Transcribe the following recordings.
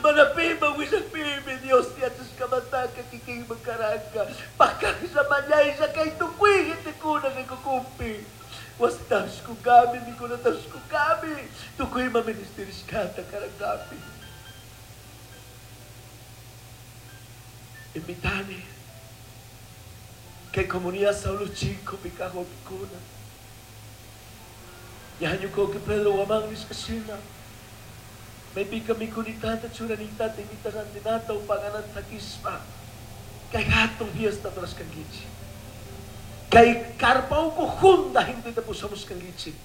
Mana pima willakpimi Dios yachashkamantaka kikinman karanka. Pakajlla mañaylla kay tukuy gentekuna rikukunpi. Wasitapish kunkami, mikunatapish kunkami, tukuy ima ministerishkata karankami. Invitani kay comunidad Saulo Chico kaj wawkikuna. Ñañukoki Pedro Guamán nishkashina. Maypika mikunitata churanitata imita rantinata o paganata sakishpa. Kay hatun fiesta rurashkankichik. Kay carpa uku junda genteta pushamushkankichik.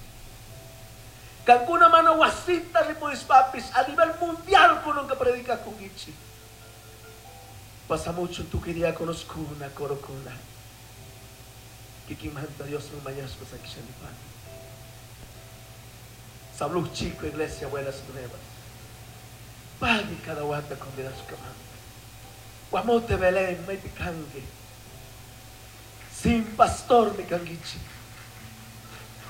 Kankuna mana wasita ripurishpapis a nivel mundial kunanka predicakunkichik. Pasamuchun tukuy diáconoskuna, corokuna. Kikinmanta Diosman mañashpa sakishanipani. Sabluj Chico, Iglesia Buenas Nuevas. Pagui cada wata convidashkamanta. Guamote Belén, maypi kanki. Sin pastor mi kankichik.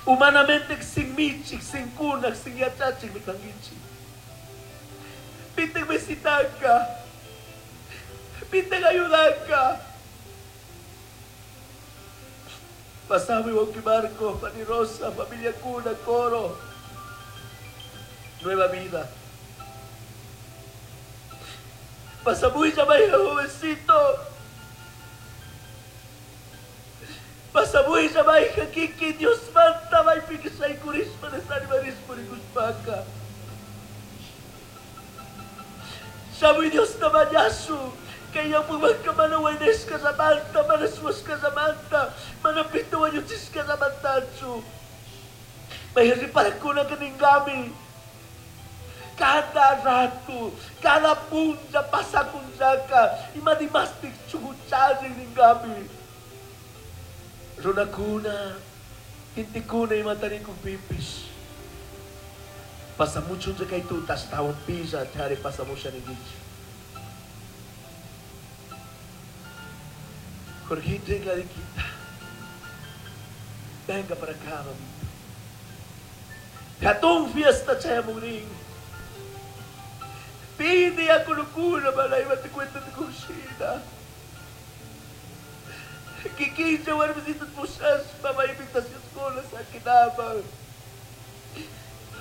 Humanamente sin michik, sin kunak, sin yachachik mi kankichik. Piten visitanka. Piten ayudanka. Pasame Wauki Marco, Pani Rosa, familia Cuna, coro. Nueva vida. Pasamuilla, vaya jovencito. Pasamuilla, vaya Kiki, Dios manta, vaya piquisay curisma de sanimarismo ni cuspaca. Shamuy Dios tamayasu, que ya muwanka mana wainesca zamanta, mana suasca zamanta, mana pito wayuchisca zamantachu. Vaya riparakuna que ningami. Cada rato, cada punta pasa con saca, y madimastik chuchuchari ningami. Runakuna, intikuna y matarikun pipis. Pasa mucho un recaituta hasta un pisa, chare pasa mucho ninguichi. Jorgito y Gladiquita, venga para acá, mamita. Gatón fiesta chayamurín. Pide a Colo-Colo, malay, te cuenta de cocina. Kikinja, warmisitas pusas, mamá, invitaciones con las akinama.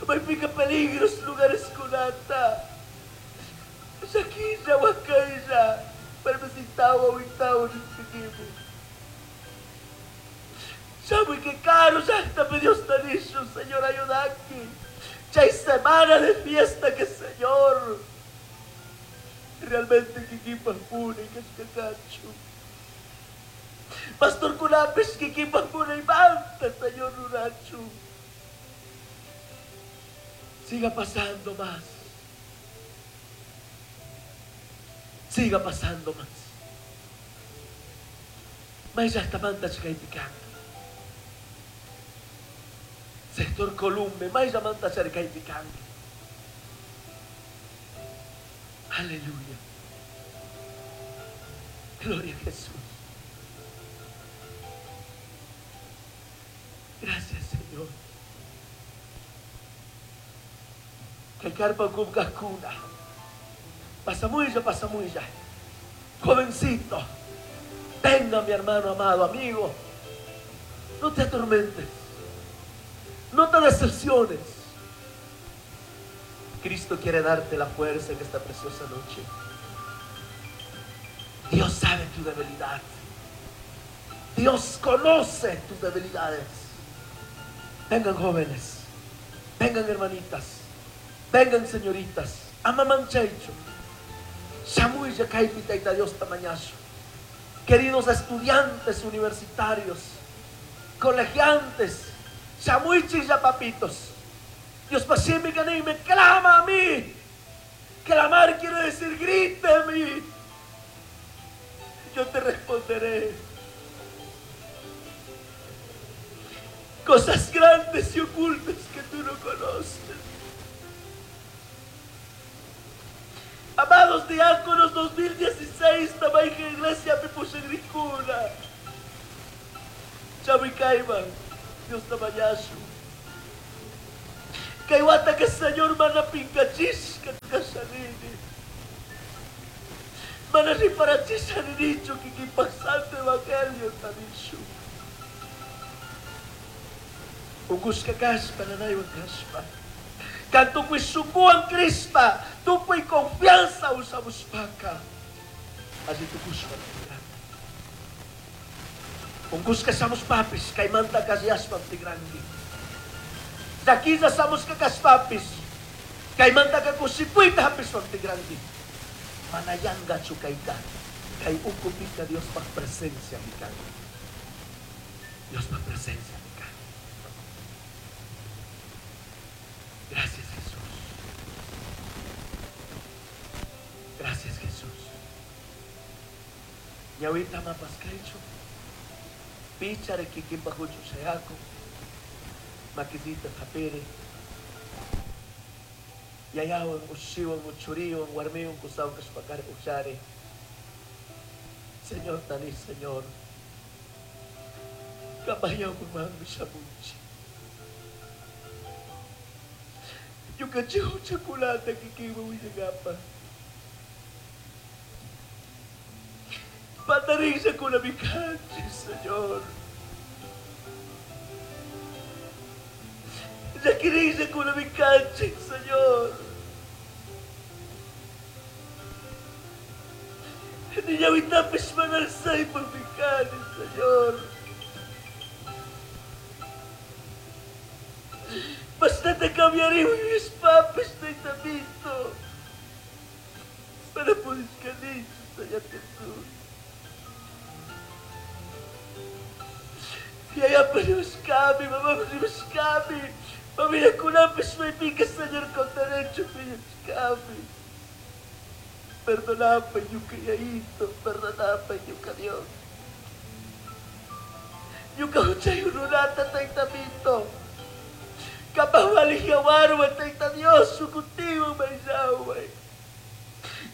May pica peligros lugares kunata. Shakija, wakaya, warmisitawa, witawa, nispikimu. Sabe que caro, ya está Dios tanisho, Señor, ayuda aquí. Ya hay semana de fiesta que Señor. Realmente kikipa pune que es cacho. Pastor Kunapes kikipa pune y manta, Señor Rurachu. Siga pasando más. Siga pasando más. Mas ya está manta chicaipicando. Sector Columbe, mais ya manta chicaipicando. Aleluya. Gloria a Jesús. Gracias, Señor. Que carpa cuna. Pasa muy ya. Jovencito, venga mi hermano amado, amigo. No te atormentes. No te decepciones. Cristo quiere darte la fuerza en esta preciosa noche. Dios sabe tu debilidad. Dios conoce tus debilidades. Vengan jóvenes, vengan hermanitas, vengan señoritas. Amamanchaicho. Shamuy yakaypi tayta Dios tamañazo. Queridos estudiantes universitarios, colegiantes, shamuy chilla papitos. Dios pasime me clama a mí. Clamar quiere decir grite a mí. Yo te responderé. Cosas grandes y ocultas que tú no conoces. Amados diáconos, 2016, Tabaija Iglesia me puse gricuna. Chavicaiba, Dios tamayasu. Kaiwata que Señor mana pincachisca casalini. Mana riparachisha ninichu kikinpak santo evangelio tanishu. Unkushka kashpa, nanaywan kashpa. Kan tukuy shunkuwan crishpa, tukuy confianza ushamushpaka, alli tukushpa tigranki. Unkushka shamushpapish, kaymanta alliyashpam tigranki. Llaquilla shamushka kashpapish, kaymantaka kushikuyta hapishpam tigranki. Mana yangachu kayka, kay ukupika Diospaj presenciami kan. Diospaj presenciami kan. Gracias, Jesús. Gracias, Jesús. Ñawita mapaskaychu. Pichare kikinpa huchu shayaku. Makisita tapiri. Yayawan, ushiwan, uchuriwan, warmiwan, kusawan kashpakari ushari. Señor, tani, Señor. Kabayaw manmi shamunchi. Ñukanchik huchakunata kikinman willakapa. Pantarinllakunami kanchik, Señor. Llakirinllakunami kanchik, Señor. Niñawitapish manarsaypaqmi kani, Señor. Bastante cambiaré mis papis, Taitamito. Para poder Señor Jesús. Yaya buscame, mamá buscame. Mami yakunapis may pica, Señor, con derecho, buscame. Perdonapa, yuka yaito, perdonapa, yuka Dios. Yuka huchay runata, Taitamito. Kapag waligyawarwa, Taita Dios, sukutiwa, maysaway.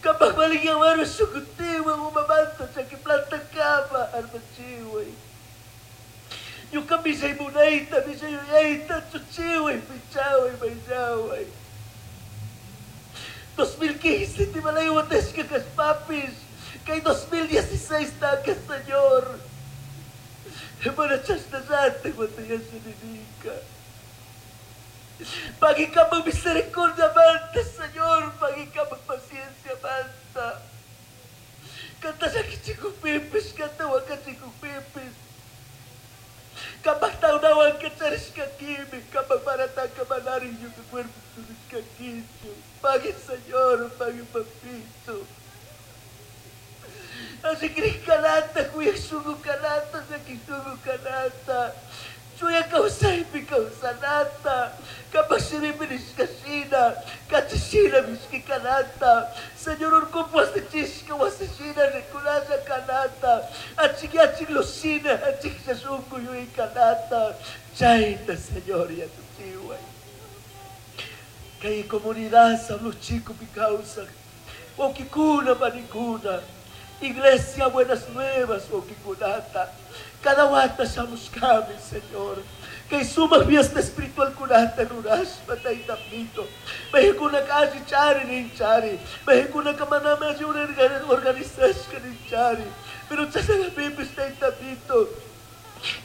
Kapag waligyawarwa, sukutiwa, umamanta, sa planta kama, armachiway. Yuka misay munayta, misay yuyayta, chuchiway, pichaway, maysaway. 2015, di malayo ka kaspapis. Kay 2016 na ka, Señor. Mana chasnasate, mataya sa Pagi ka misericordia manta, Señor. Pagi ka paciencia manta. Kanta sa kichikupipis, kanta wakachikupipis. Kapag taunawan ka charis ka kimi, kapag barata ka manari yung cuerpo tulis ka kicho. Pagi, Señor, pagi papito. Así que kanata, kuya sugu kanata, sa kisugu kanata. Chuya kausaypi kausanata. Kapag sinibilis kasina, kachisina miski kanata. Señor, urkupo wasichisca, wasicina, reculasa kanata. Achik achik losina, achik sasunku yui kanata. Chaita, Señor, ya tu chiway. Kay comunidad, sablo chico mi causa. Okikuna, manikuna. Iglesia Buenas Nuevas, Okikunata. Cada wata shamushkami, Señor. Kay suma fiesta espiritual kunata rurashpa taytapito. Mahikuna ka chari nin chari. Mahikuna ka manama organizashka nin chari. Pero chasagapipis taytapito.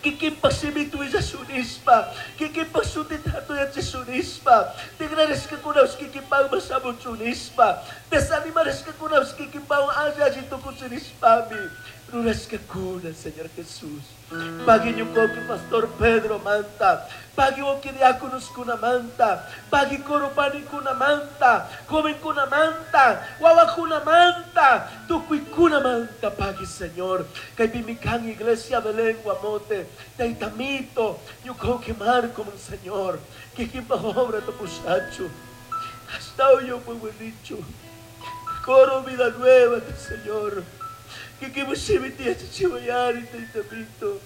Kikinpak simito sunispa. Kikinpak sutit hato sunispa. Tigrares ka kunaws kikipang masamot sunispa. Desanimares ka kunaws kikipang asa sunispa mi. Ruras ka kuna, Señor Jesús. Pagi niyo ko ki Pastor Pedro manta. Pagi o ki diáconos kuna manta. Pagi koropani kuna manta. Joven kuna manta. Wawa kuna manta. Tukuy kuna manta. Pagi, Señor. Kay bimikang iglesia Belén Guamote. Taitamito. Yuko ki Marco, mon Señor. Kikimpa obra tu pusacho. Hasta hoy yo muy buenicho. Coro vida nueva, Señor. Kikimushimiti chichiwayari taitamito.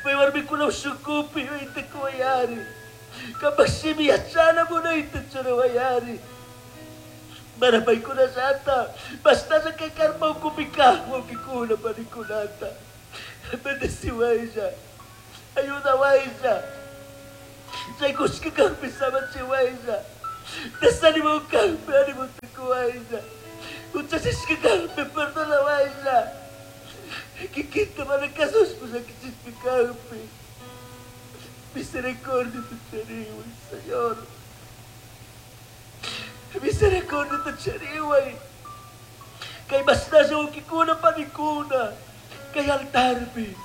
May warmi kuna usukupi ite kuwayari. Kapag simiyasana mo na ite churawayari. Marapay ko na sata. Basta sa kay karma kumika mo kikuna panikunata. Bendeciwaysa. Ayuda waysa. Sa ikuska kang pisama chiwaysa. Desanimo kang animo tikuwaysa. Uchasis ka kang perdona. parlawaylla. Kikita mana kasushpa llakichishpa kajpi. Misericordia chariway, Señor. Misericordia chariway. Kay masnalla wawkikuna panikuna. Kay altarpi.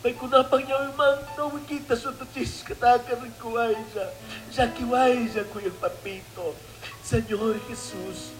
Paykunapaj ñawimanta wikita shutuchishkataka rikuwaylla. Llakiwaylla kuyaj papito. Señor Jesús.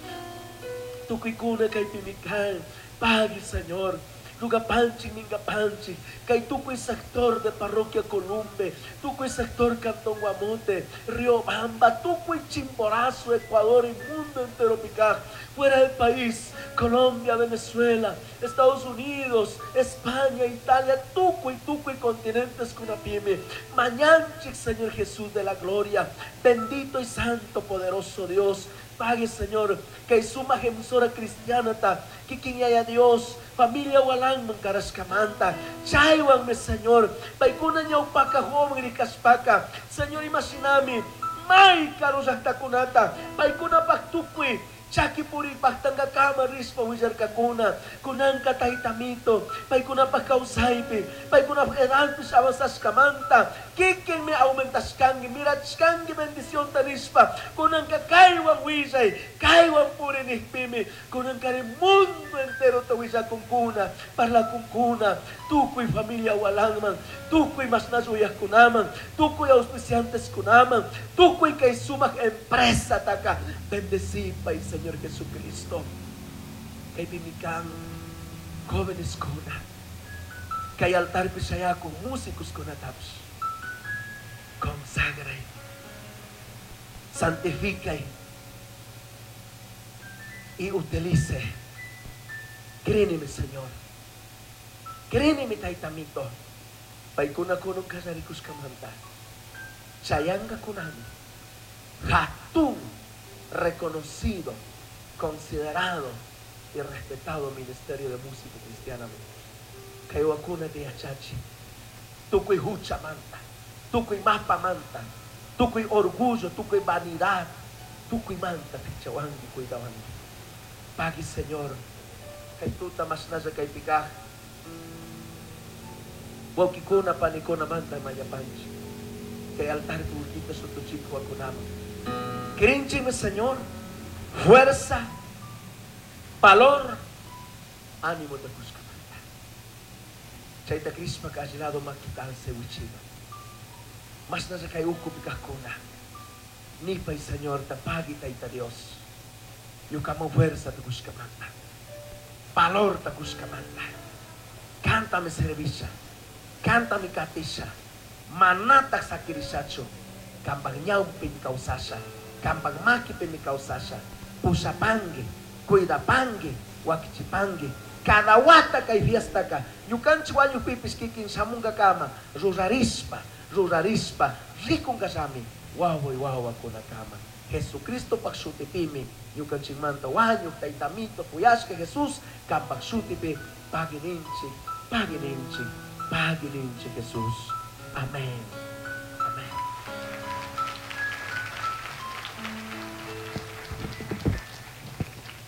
Tukuykuna kaypimi kan. Pagui, Señor. Lugapanchik, mingapanchik, kay tukuy sector de parroquia Columbe, tukuy sector Cantón Guamote, Riobamba, tukuy Chimborazo, Ecuador y mundo entero picaj, fuera del país, Colombia, Venezuela, Estados Unidos, España, Italia, tukuy, tukuy continentes kunapimi. Mañanchik, Señor Jesús de la gloria, bendito y santo, poderoso Dios. Pague, Señor, que suma emisora cristiana ta, kikin yaya Dios, familia walang mankaraskamanta, chaywan me Señor, paykuna ñawpaka joven rikaspaka, Señor imaginami, may karullaktakunata, paykuna paktukui, chaki puripaj tangakama rishpa willarkakuna, kunanka taytamito, paykunapaj kawsaypi, paykunapaj edadpish avanzashkamanta, kikinmi aumentashkanki, mirachkanki bendicionta nishpa, kunanka kaywan willay, kaywan puri nijpimi, kunankari mundo entero ta willakunkuna, parlakunkuna, tukuy familia walanman, tukuy masnash uyajkunaman, tukuy auspicianteskunaman, tukuy kay sumak empresa taka, bendecipay Señor Jesucristo. Kaypimi kan jóvenes kuna, kay altarpi shayakun músicos kunatapish, consagray, santificay y utilice. Créeme, Señor. Créeme, taytamito. Paykuna kunun kallarikushkamanta. Chayanga kunami. Hatun, reconocido, considerado y respetado ministerio de música cristiana. Kay wakuna de yachachi. Tukuy hucha manta. Tukuy mapa manta. Tukuy orgullo, tukuy vanidad. Tukuy manta pichawangi, cuidawangi. Pagui, Señor. Kay tuta masnalla kay pikaj. Wawkikuna panikuna manta mayapanchi. Kay altar kuwikita sutuchik wakunama. Crinchime, Señor, fuerza, valor, ánimo de Cuscamanta. Chayta Crispa kallado maquitalse wichima. Mas nasa kay uku pikajkuna. Nipay, Señor, tapagi tayta Dios. Yukamo fuerza de Cuscamanta. Valor de Cuscamanta. Cántame servicia. Cántame katisha. Manata sakirisacho. Kambang ñawpi causasha. Kambang makipi mi causasha. Pusapangue, cuidapangue, wakichipangue. Cada wata kay fiesta ka. Ñukanchik wañukpipis kikin shamunga kama. Rurarispa, rurarispa, rikunkashami. Wawa y wawa kunakama. Jesucristo pak shutipimi. Ñukanchikmanta wañuk taytamito kuyashka Jesús. Kampak shutipi pagininchik, pagininchik, pagininchik Jesús. Amén. Amén.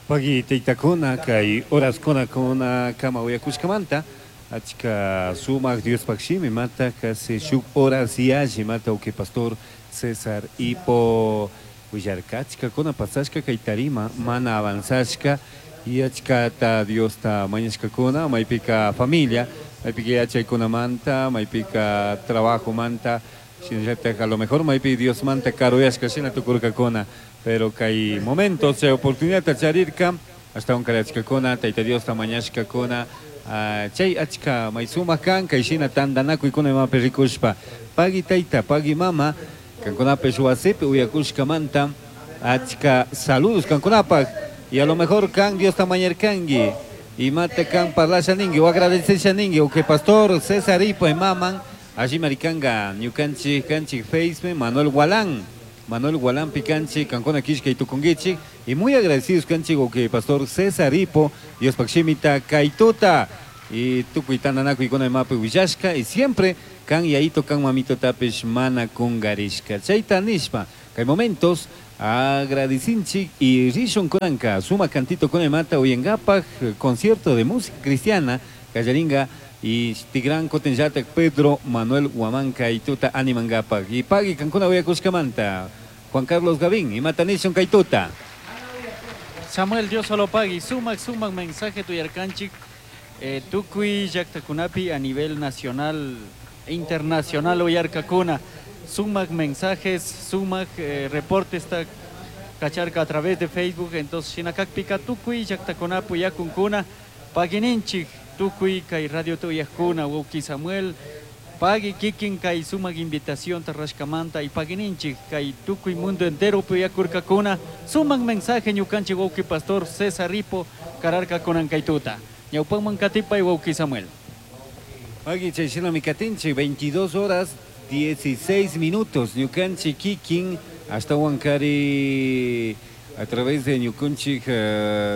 Pagi taytakuna kay horaskuna kuna kama uyakushkamanta achka sumak Diospaj shimi mata casi shuk horas yalli mata uke pastor César Ipo willarka achkakuna pasashka kay tarima mana avanzashka y achkata Diosta mañashkakuna maypika familia maypika yachaykunamanta maypika trabajo manta shinallatak a lo mejor maypi Dios manta karuyashka shina tukurkakuna pero kay momentos chay oportunidad charirka hasta un karachkakuna tayta Diosta mañashkakuna chay achka may sumak kan kay shina tantanakuykuna imapi rikushpa pagui tayta pagui mama kankunapish wasipi uyakushkamanta achka saludos kankunapaj y a lo mejor kan Diosta mañarkanki imata kan parlasha ninki o agradecesha ninki o que pastor César Ipo imaman allí maricanga ñukanchik kanchik Facebook Manuel Gualán Manuel Gualán picanchi kankuna kishkay tukunkichik y muy agradecidos kanchik o que pastor César Ipo Diospaj shimita kaytuta y tukuy tantanakuykuna imapi willashka y siempre kan yayito kan mamito tapish mana kungarishka chayta nishpa kay momentos Agradecinchik y rishun kunanka suma cantito kunamanta uyangapak concierto de música cristiana kallaringa y tigran kutinllatak Pedro Manuel Huamanca y tuta animangapak y pagui kankuna uyakushkamanta Juan Carlos Gavín y matanishun kaytuta. Samuel, Dios solo pagui, sumak sumak mensaje tuyarkanchik tukuy llaktakunapi a nivel nacional e internacional uyarkakuna sumak mensajes, sumak reportes ta kacharka a través de Facebook. Entonces shinakakpika tukuy llaktakunapi uyakunkuna paguininchik tukuy kay radio tuyakuna wawki Samuel pagui kikin kay sumak invitación tarrashkamanta y paguininchik kay tukuy mundo entero uyakurkakuna sumak mensaje ñukanchik wawki pastor César Ripo kararka kunan kaytuta ñawpanman katipay wawki Samuel. Pagui chay shinami katinchik 22 horas 16 minutos ñukanchik kikin hasta Huancari a través de ñukunchik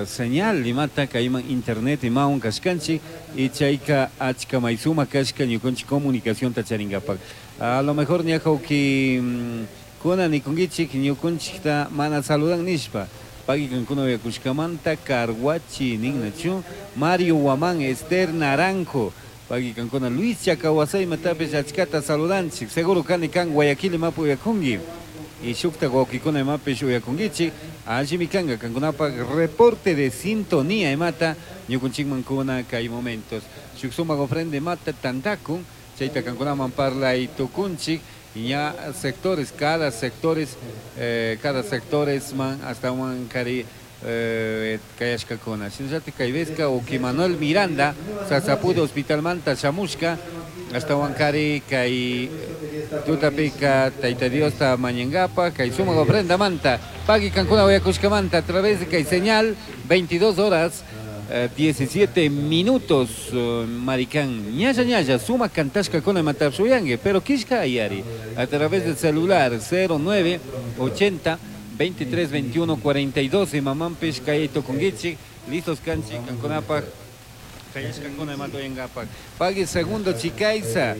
señal imata kayman internet imawan kashkanchik y chayka achka maysuma kashka ñukunchik comunicación tacharingapak. A lo mejor ñajawki kuna nikunkichik ñukunchikta mana saludan nishpa. Pagui kankuna uyakushkamanta Carhuachi ninnachu Mario Guamán, Esther Naranjo. Pagui kankuna Luis Chacawasay matapis achkata saludanchik. Seguro kani kan Guayaquil imapi uyakunki. Y shukta wawkikuna imapish uyakunkichik. Allimi kanka kankunapak reporte de sintonía imata ñukunchikman kuna kay momentos. Shuk sumak ofrenda imata tantakun chayta kankunaman parlay tukunchik. Ña sectores, cada sectores man hasta Huancari kayashkakuna. Shinallatik kay vezka uki Manuel Miranda Sasapudo Hospital manta shamushka hasta Huancari kay tutapika Tayta Diosta mañangapa kay sumak ofrenda manta pagui kankuna uyakushkamanta a través de kay señal 22 horas 17 minutos maricán ñalla ñalla suma cantashka kuna matapsuyangue pero kishka ayari a través del celular 09 80 23 21 42 y mamampish kayito kungichik listos kanchik kankunapak kayashkakuna matoyangapak pagui segundo chikaiza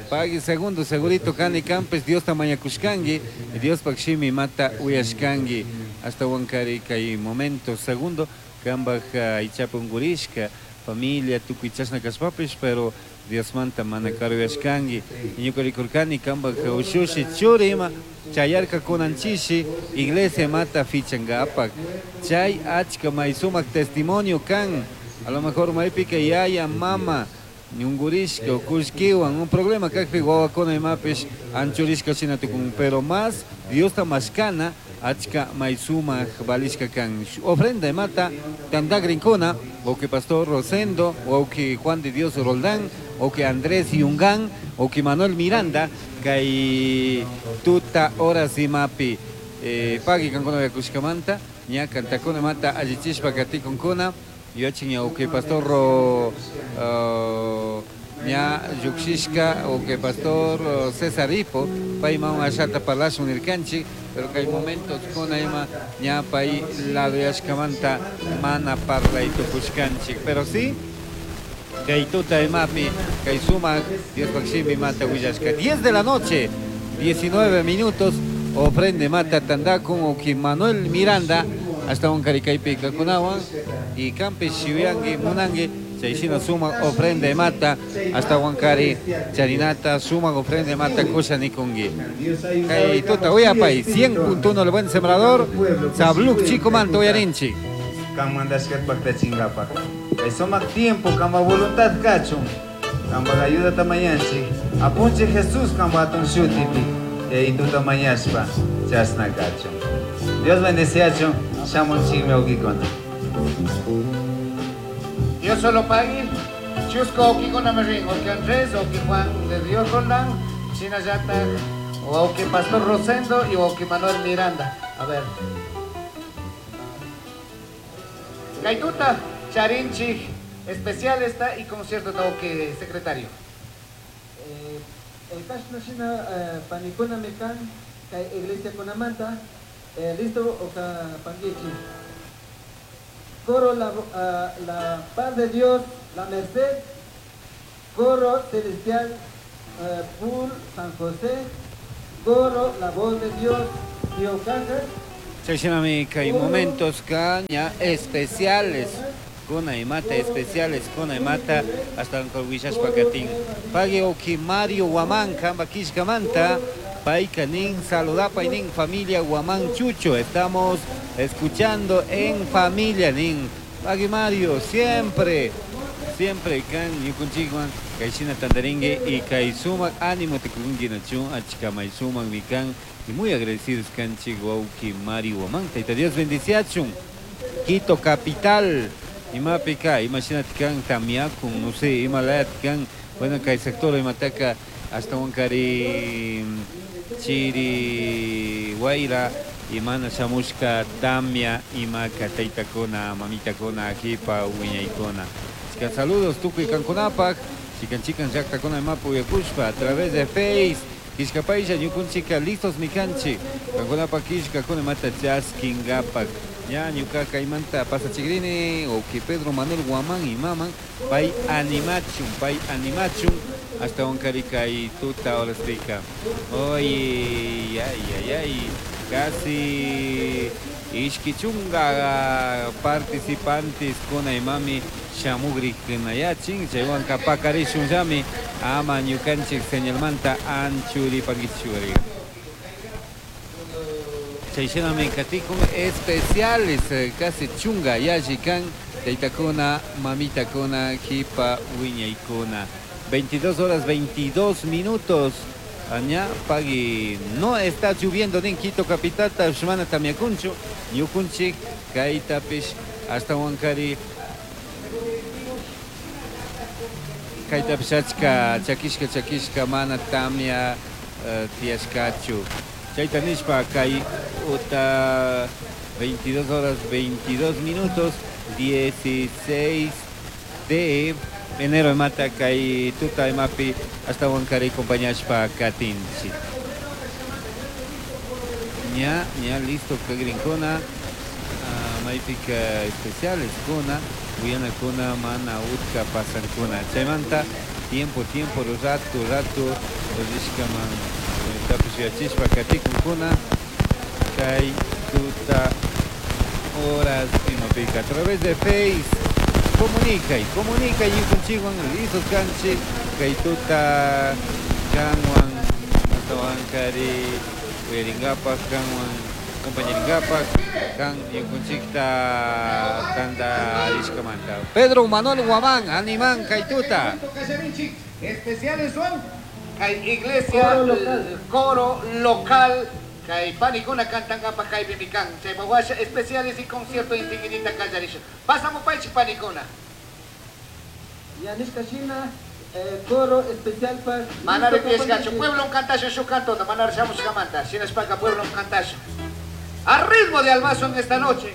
pagui segundo segurito kani kampes Dios tamañakushkangi Dios pakshimi mata uyashkangi hasta Huancari kay momento segundo kambaj ichapi unkurishka familia tukuy chashna kashpapish pero Dios manta mana karuyashkangi ñuka rikurkani kambaj ushushi churi ima chayarka kunanchishi iglesia mata fichangapak chay achka may sumak testimonio kan a lo mejor maypika yaya mama ñungurishka o kullkiwan un problema kakpi wawakuna imapish anchurishka shina tukun pero más Diosta mashkana achka may sumak valishka kan ofrenda imata tantagrinkuna wawki pastor Rosendo wawki Juan de Dios Roldán wawki Andrés Yungán wawki Manuel Miranda kay tuta horas imapi pagui kankuna uyakushkamanta ña kantakuna mata allichishpa katikunkuna yachin wawki pastor ña llukshishka wawki pastor César Ipo payman ashata parlashun nirkanchik pero kay momentos kuna ima ña pay ladoyashkamanta mana parlay tukushkanchik pero sí kay tuta imapi kay sumak Diospak shimi mata willashka 10 de la noche 19 minutos ofrende mata tandakun wawki Manuel Miranda hasta un karikaypi kakunawan y kampi shiuyangi munangi chayshina sumak ofrenda mata hasta Huancari charinata sumak ofrenda mata kusha nikungi kay tuta uyapay 100.1 el buen sembrador Sabluk chico manto uyarinchik kan mandashkat paktachingapak kay sumak tiempo kamba voluntad kachun kamba ayuda tamayanchik apunchik Jesús kamba atun shutipi yayituta mañashpa chasna kachun Dios bendeciachun shamunchikmi wawkikuna. Dios solo pagui chusco wawkikuna mi rin wawki Andrés wawki Juan de Dios Roldán shinallata wawki Pastor Rosendo y wawki Manuel Miranda. A ver. Kaituta charinchik especial está y concierto wawki secretario. El kashna shina panikuna mikan kay iglesia kunamanta listo oka pangichi. Coro la paz de Dios, la merced, coro celestial Pul San José, coro la voz de Dios, Tío Cajas, Chayshinami kay momentos ña especiales kuna imata especiales kuna imata hasta wishashpa katin. Pagui uki Mario Guamán kamba kishkamanta payka nin saludapay nin familia Guamán Chucho, estamos escuchando en familia nin. Pagui Mario siempre siempre kan ñukunchikwan kayshina tantarinki y kay sumak ánimo tikunki nachun achkamay sumak mi kan y muy agradecidos kanchik wawki Mario Guamán. Tayta Dios bendiciachun. Quito capital imapika imashinati kan tamiakun no sé imalayati kan bueno kay sector imataka ashtawankari chiri wayra imana shamushka tamia imaka taytakuna mamitakuna kipa wiñaykuna. Chikan saludos tukuy kankunapak chikan chikan llaqtakuna imapi uyakushpa a través de Face kishkapaylla ñukunchika listos mikanchik kankunapak kishkakuna imata chaskinkapak ña ñuka kaymanta pasachikrini uki Pedro Manuel Guamán imaman pay animachun ashtawankari kay tuta horaspika. Oye, ay, ay, ay, casi ishki chunga participantes kuna imami shamugrikunayachin chaywanka pakarishunllami ama ñukanchik señalmanta anchuripankichuri. Chayshinami katikun especiales casi chunga yalli kan taytakuna mamitakuna kipa wiñaykuna. 22 horas 22 minutos. Aña pagui no está lloviendo en Quito capital mana tamiakunchu ñukunchik kaytapish hasta wankari kaytapish achka chakishka chakishka mana tamia tiyashkachu. Chayta nishpa kay uta 22 horas 22 minutos 16 de enero imata kay tuta imapi hasta wankari compañashpa katinchi. Ña, ña listo kagrinkuna maypika especiales kuna uyanakuna mana utka pasankuna. Chaymanta tiempo tiempo rato rato rishkaman tapish yachishpa katikunkuna kay tuta horas imapika a través de Face. Comunica y comunica y ñukunchikwan listos kanchik kay tuta kanwan ashtawankari uyarinkapak kanwan compañerinkapak kan ñukunchikta tantarishkamanta. Pedro Manuel Guamán animan kay tuta. Especiales son kay iglesia coro local kay panikuna kantankapa kay bimikan chay mawasha especiales y concierto intiginita kallarisha. Pasamos paichi panikuna. Yanishka shina coro especial pa Manare piescacho pueblo un cantasho su canto manare shamushkamanta shinashpaka pueblo un cantasho. A ritmo de albazo en esta noche.